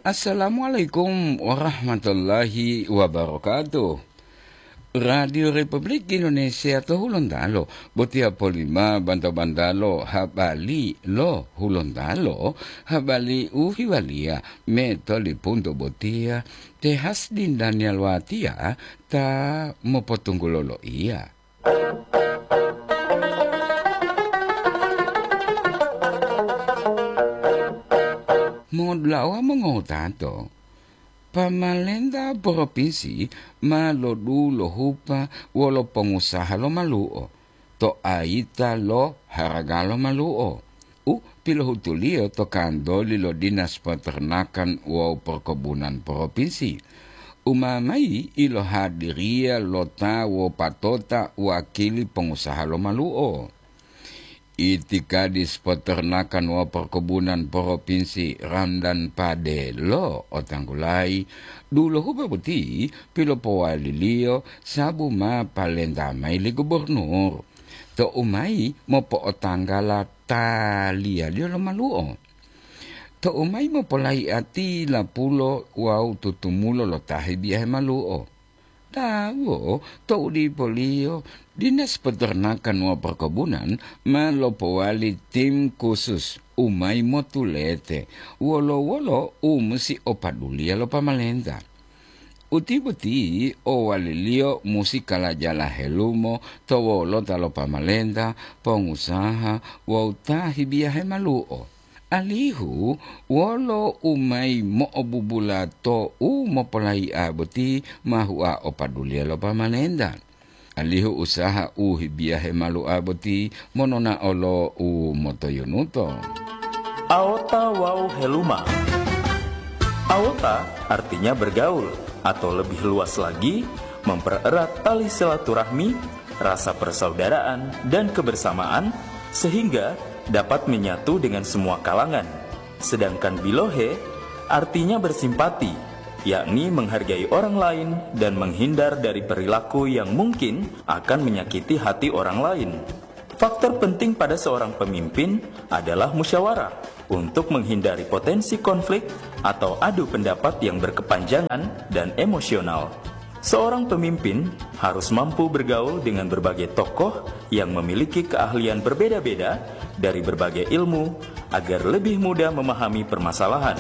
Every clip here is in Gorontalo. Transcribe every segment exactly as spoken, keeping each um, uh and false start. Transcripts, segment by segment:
Assalamualaikum warahmatullahi wabarakatuh. Radio Republik Indonesia to Hulontalo, botiya polima banta-bantalo habali lo Hulontalo, habali u hiwaliya me tolipunto botiya te Hasdin Daniel Watiya ta mopotunggulo loiya. Modulawa mongowutato, pamalenta propinsi ma lodulohupa wolo pongusaha lo malu'o to ayita lo haraga lo malu'o u pilohutuliyo to kantoli lo Dinas Peternakan wawu Perkebunan Propinsi, u ma mayi ilohadiriya lo ta wopatota wakili pongusaha lo malu'o. Itikadis Peternakan wawu Perkebunan Propinsi Ramdan Pade lo otanggulayi, dulohupa boti pilopowaliliyo sabu ma palenta mayi li gubernur, to'u mayi mopo'otanggala taliyaliyo lo malu'o. To'u mayi mopolayi'ati lapulo wawu tutumulo lo ta hebiyahe malu'o. Tawo, to'u dipoliyo, Dinas Peternakan wawu Perkebunan ma lopowali tim khusus u mayi motulete wolo-wolo u musi opaduliya lo pamalenta. Uti boti owaliliyo musi kalajala helumo to wolota lo pamalenta, pongusaha wawu ta hibiyahe malu'o. Alihu wolo u mayi mo'obubula to u mopolayi'a boti ma hua opaduliya lo pamalenta. Alihu usaha u hibiyahe malu'a boti monona'o lo u motoyunuto. Aota wawu heluma. Aota artinya bergaul, atau lebih luas lagi, mempererat tali silaturahmi, rasa persaudaraan, dan kebersamaan, sehingga dapat menyatu dengan semua kalangan. Sedangkan bilohe artinya bersimpati, yakni menghargai orang lain dan menghindar dari perilaku yang mungkin akan menyakiti hati orang lain. Faktor penting pada seorang pemimpin adalah musyawarah untuk menghindari potensi konflik atau adu pendapat yang berkepanjangan dan emosional. Seorang pemimpin harus mampu bergaul dengan berbagai tokoh yang memiliki keahlian berbeda-beda dari berbagai ilmu agar lebih mudah memahami permasalahan.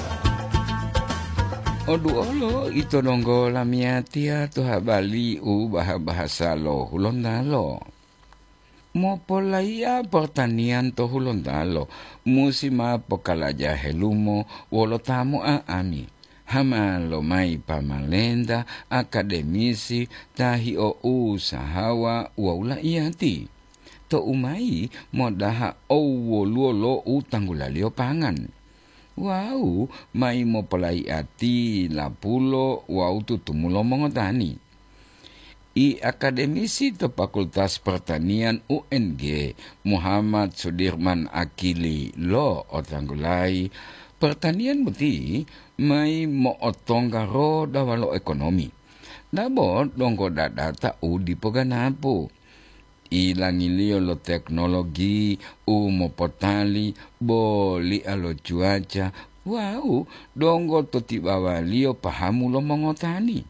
Oduolo ito donggo lamiyatiya to habali u baha-bahasa lo Hulontalo. Mopolayi'a portaniyan to Hulontalo musi ma pokalaja helumo wolo ta mo'a'ami, hama lomayi pamalenta, akademisi, ta hio'usahawa wawu la'iyati. To'u mayi modaha owwoluwo lo u tanggulaliyo pangan. Wawu mayi mopolayi'ati lapulo wawu tutumulo mongotani. I akademisi to Fakultas Pertanian U N G, Muhammad Sudirman Akili lo otanggulayi, pertanian boti mayi mo'otongga roda walo ekonomi. Dabo donggo dadata u dipo ganapu. Ilangiliyo lo teknologi u mopotali, boli'a lo cuaca, wawu donggo to tibawaliyo pahamu lo mongotani.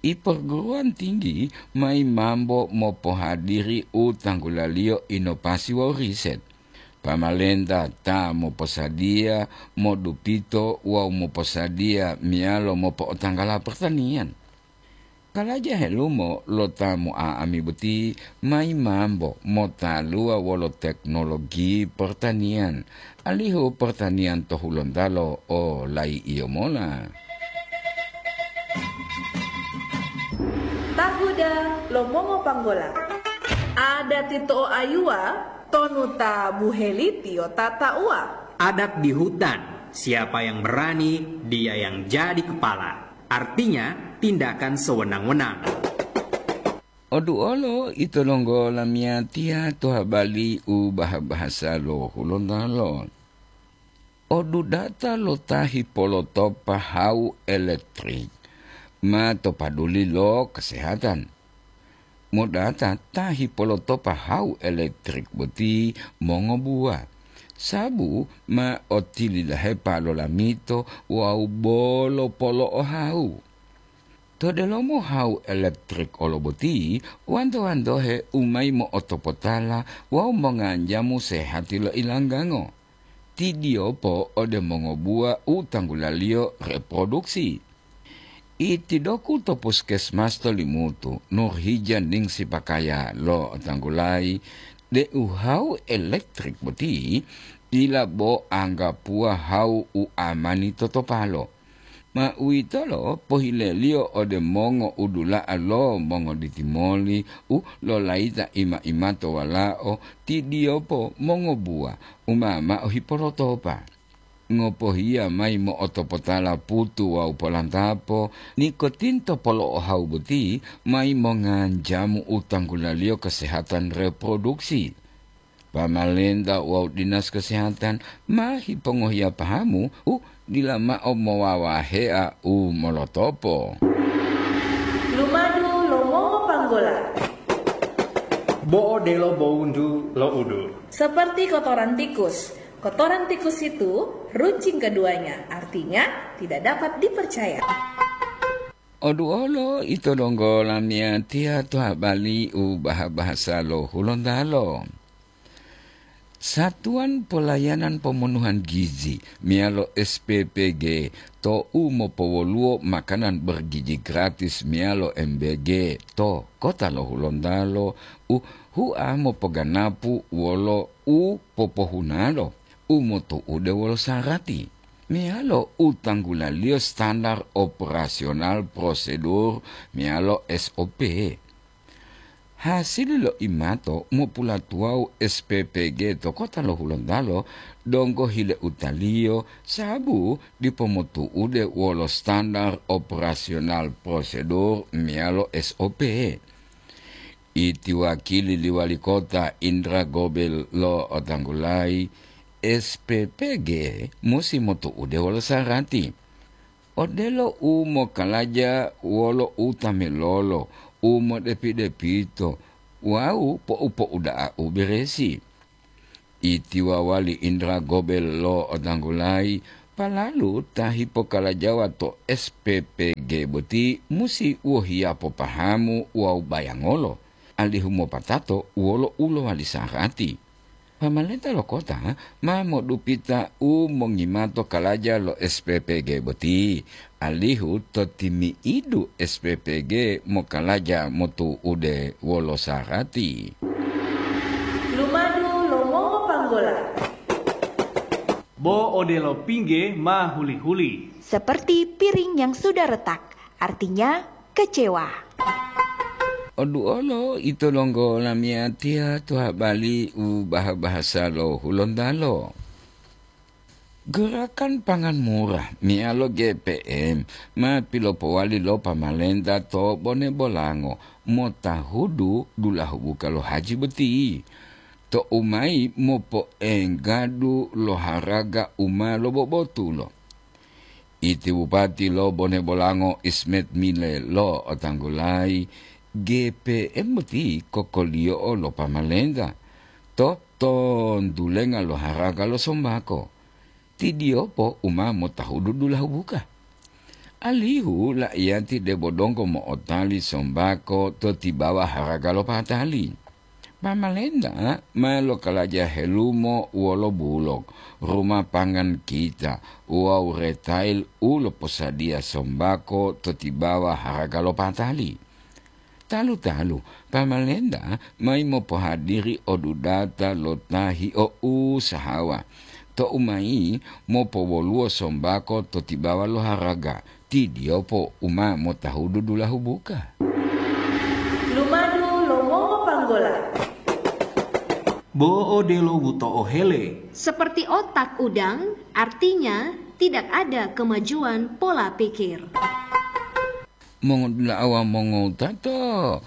I perguruan tinggi mayi mambo mopohadiri u tanggulaliyo inovasi wawu riset. Pamalenta ta moposadiya, modupito wawu moposadiya meyalo mopo'otanggala pertanian. Kalaja helumo lo ta mo'a'ami boti mayi mambo motaluwa wolo teknologi pertanian, alihu pertanian to Hulontalo o layi'iyo mola. Tahuda lo mongopanggola. Adati to'oayuwa tonu ta buhelitiyo tata'uwa. Adat di hutan, siapa yang berani, dia yang jadi kepala. Artinya, tindakan sewenang-wenang. Oduolo ito donggo lamiyatiya to habali u baha-bahasa lo Hulontalo. Odudata lo ta hipolotopa hawu elektrik ma to paduli lo kesehatan. Modata ta hipolotopa hawu elektrik boti mongobuwa, Sabu ma otilidahepa lolamito wawu bolo polo'ohawu. To delomo hawu elektrik olo boti, wanto-wantohe u mayi mo'otopotala wawu monganjamu sehati lo ilanggango. Tidiyopo ode mongobuwa u tanggulaliyo reproduksi. Itidoku to puskesmas to Limutu, Nurhija Ningsi Pakaya lo'otanggulayi deu hawu elektrik boti dila bo anggapuwa hawu u amani totopalo. Ma uwitolo pohileliyo ode mongo udula'a lo mongoditimoli u lolayita ima-imato walao tidiyopo mongobuwa u ma mao hipolotopa. Ngopohiya mayi mo'otopotala putu wawu polantapo, nikotinto polo'ohawu boti mayi monganjamu u tanggulaliyo kesehatan reproduksi. Pamalenta wawu dinas kesehatan ma hipongohiya pahamu u dila mao mowawahea u molotopo. Lumadu lo mongopanggola. Bo odelo bowuntu lo udu. Seperti kotoran tikus. Kotoran tikus itu runcing keduanya, artinya tidak dapat dipercaya. Oduolo ito donggo lamiyatiya to habari u baha-bahasa lo Hulontalo. Satuan Pelayanan Pemenuhan Gizi meyalo S P P G to u mopowoluwo makanan bergizi gratis meyalo M B G to kota lo Hulontalo u hua mopoganapu wolo u popohunalo u motu'ude wolo sarati meyalo u tanggulaliyo standar operasional prosedur meyalo S O P. Hasili lo imato mopulatuwawu S P P G to kota lo Hulontalo donggo hileutaliyo sabu dipo motu'ude wolo standar operasional prosedur meyalo S O P. Iti wakili li wali kota Indra Gobel lo'otanggulayi, S P P G musi motu'ude wolo sarati. Odelo u mokalaja wolo u tamelolo, u modepi-depito, wawu pou-pouda'a u beresi. Iti wawali Indra Gobel lo'otanggulayi, palalu ta hipokalajawa to S P P G boti musi wohiya popahamu wawu bayangolo, alihu mopatato wolo u lowali sarati. Pamalenta lo kota ma modupita u mongimato kalaja lo S P P G boti, alihu to timi'idu S P P G mokalaja motu'ude wolo sarati. Lumadu lo mongopanggola. Bo odelo pingge ma huli-huli. Seperti piring yang sudah retak, artinya kecewa. Oduolo ito donggo lamiyatiya to habari u baha-bahasa lo Hulontalo. Gerakan Pangan Murah meyalo G P M ma pilopowali lo pamalenta to Bone Bolango motahudu dulahu buka lo haji boti, to u mayi mopoenggadu lo haraga u ma lobobotulo. Iti Bupati lo Bone Bolango Ismet Mile lo'otanggulayi, G P M boti kokoliyo'o lo pamalenta to tontulenga lo haraga lo sombako. Tidiyopo u ma motahudu dulahu buka. Alihu la'iyati debo donggo mo'otali sombako to tibawa haraga lo patali. Pamalenta ma lokalaja helumo wolo bulok, ruma pangan kita wawu retail u loposadiya sombako to tibawa haraga lo patali. Talu-talu, pamalenta mayi mopohadiri odudata lo ta hio'usahawa, to u mayi mopowoluwo sombako to tibawa lo haraga, tidiyopo u ma motahudu dulahu buka. Lumadu lo mongopanggola. Bo odelo buto'o hele. Seperti otak udang, artinya tidak ada kemajuan pola pikir. Mongodula'a wawu mongowutato,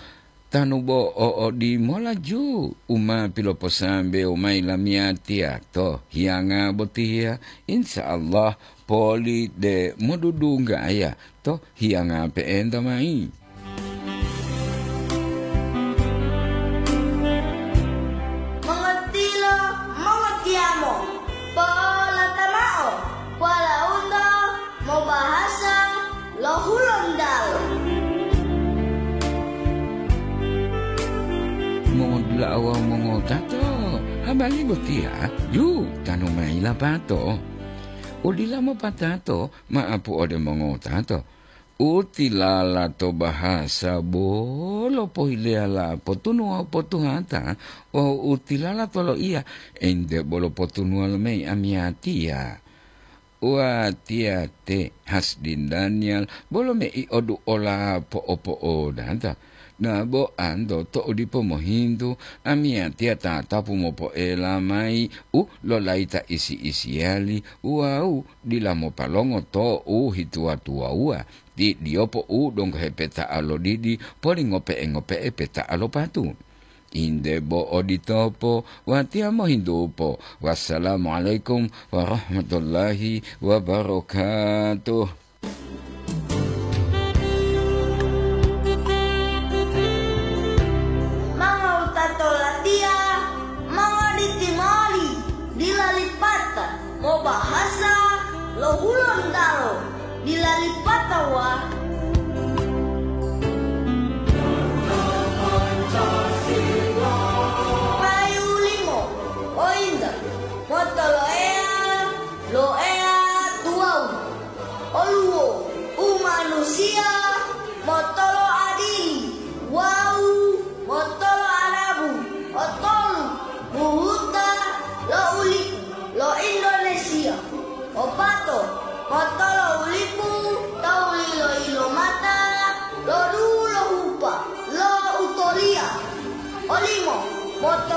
tanu bo o odimola ju u ma piloposambewo mayi lamiyatiya to hiyanga botiya, insya Allah poli de modudunggaya to hiyanga pe'enta mayi. Mongotilo, mongotiyamo. Wawu mongotato, habari botiya yu tanu mayi lapato. Udila mopatato ma'apu ode mongotato. Utilala to bahasa bolo pohileyala potunu wawu potuhata, wawu utilala to loiya ente bolo potunuwa lomeyi amiyatiya. Watiya te Hasdin Daniel bolo mei oduola po'opo'odata. Nabo anto to'u dipo mohintu, amiyatiya tatapu mopoela mayi u lolayita isi-isiyali wawu dila mopalongo to u hituwa-tuwawuwa, ti diyopo u donggo hepeta'a lo didi poli ngope'e-ngope'e peta'a lo patu. Inde bo oditopo, watiya mohintupo. Wassalamualaikum warahmatullahi wabarakatuh. Mangawutato latiya, mangawaliti moli, dila lipata, mobahasa lo Hulontalo, dila lipata wa. Payu limo, ointa, motoloeya, loeya tuwawu. Oluwo umanusiya motolo adili wawu motolo adabu, otolu buhuta lo ulipu lo Indonesia, opato motolo ulipu tawu lilo-ilomata lo dulo hupa lo utoliya, olimo moto